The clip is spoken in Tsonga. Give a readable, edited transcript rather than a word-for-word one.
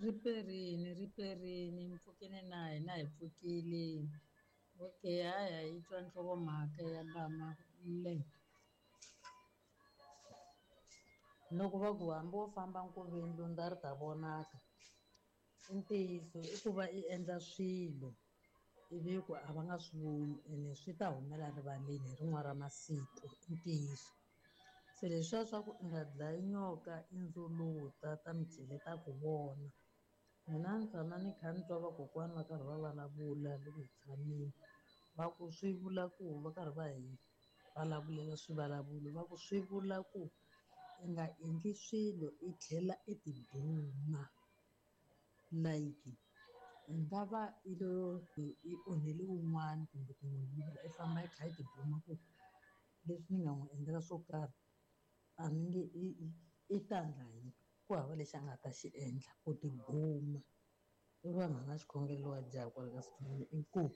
Riperini, riperini, mpfukini na hina hi pfukile. Okay, haya yi twa nhlokomhaka ya lama le. Loko va ku hambi wo famba nkoveni lundza ri ta vonaka, i ntiyiso i ku va i endla swilo ivi ku a va nga swi voni ene swi ta humela rivaleni hi rin'wana ra masiku, i ntiyiso. Se leswiya swa ku i nga dlayi nyoka i ndzuluta ta micele ta ku vona. Mina ni tshama ni kha ni twa vakokwana va karhi va vulavula loko hi tshamile va ku swi vula ku va karhi va hi vulavulela swivulavulo va ku swi vula ku i nga endli swilo i tlhela i tibuma like i nga va i lo i onhele wun'wana kumbe ku n'wi yivela i famba i kha i tibuma ku leswi ni nga n'wi endlela swo karhi a ni nge i ta ndla yini ku hava lexi a nga ta xi endla ku tibuma i vanhu va nga xikhongelo wa jaha kwala ka sithole inkomu.